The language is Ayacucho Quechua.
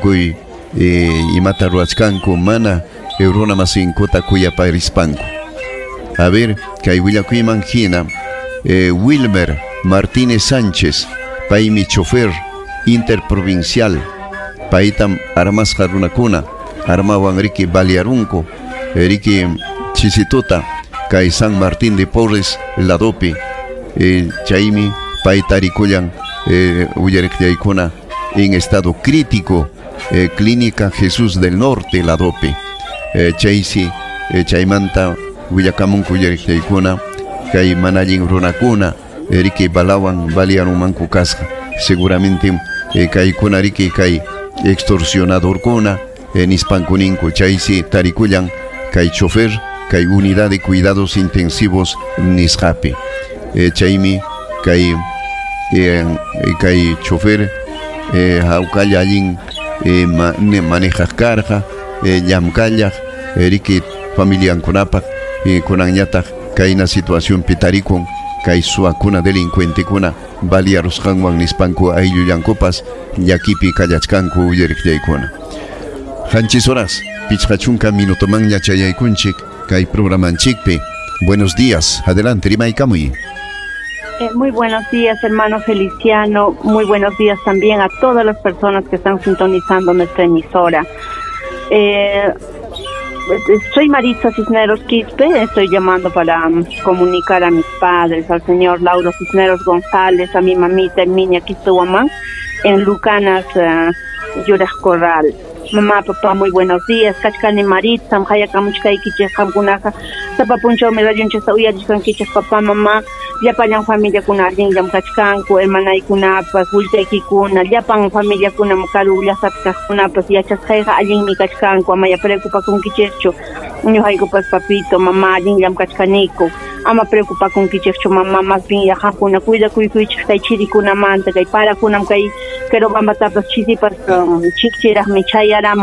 Tukuy imata ruwachkanku mana runa masinkuta kuyaparispanku. A ver, kay willakuyman hina Wilmer Martínez Sánchez, paymi chofer interprovincial, paytam armasqa runakuna armawan riki balearunku riki chisituta kay San Martín de Porres ladopi, chaymi payta rikullan willariqllaykuna en estado crítico, Clínica Jesús del Norte ladopi, chaysi chaymanta willakamunku willariqllaykuna kay mana allin runakuna riki balawan balearunmanku kasqa, seguramente kaykuna riki kay extorsionadorkuna nispanku ninku, chaysi tarikullan kay chofer kay unidad de cuidados intensivos nisqapi, chaymi kay kay chofer hawkalla allin manejaq karqa, llamkallaq riki familiankunapaq, kunanñataq kayna situacionpi tarikun kay suwakuna delincuentekuna balearusqanwan nispanku ayllullankupas llakipi kallachkanku willariqllaykuna. 7 horas 50 minutomanña chayaykunchik kay programanchikpi. Buenos días, adelante, rimaykamuy. Muy buenos días, hermano Feliciano. Muy buenos días también a todas las personas que están sintonizando nuestra emisora. Soy Maritza Cisneros Quispe, estoy llamando para comunicar a mis padres, al señor Lauro Cisneros González, a mi mamita Herminia Quispe Huamán, en Lucanas, Yuraj Corral. Mamá, papá, muy buenos días. Kachkani Maritza, hayakamuchkaykichik qamkunaqa sapa punchawmi radionchikta uyarishkankichik, papá, mamá, llapallan familiakuna allinllam kachkanku, hermanaykunapas, willkaykikuna, llapan familiakunam karu llaqtapi kaqkunapas yachasqayqa allinmi kachkanku, amaya preocupakunkichikchu. Ñuqaykupas papito, mamá, allinllam kachkaniku. Ama preocupakunkichikchu, mamá, más bien ya qamkuna cuidakuykuychik kay chirikunamanta, kay parakunam kay Querobambatapas chisipas chikchiraqmi chayaramun.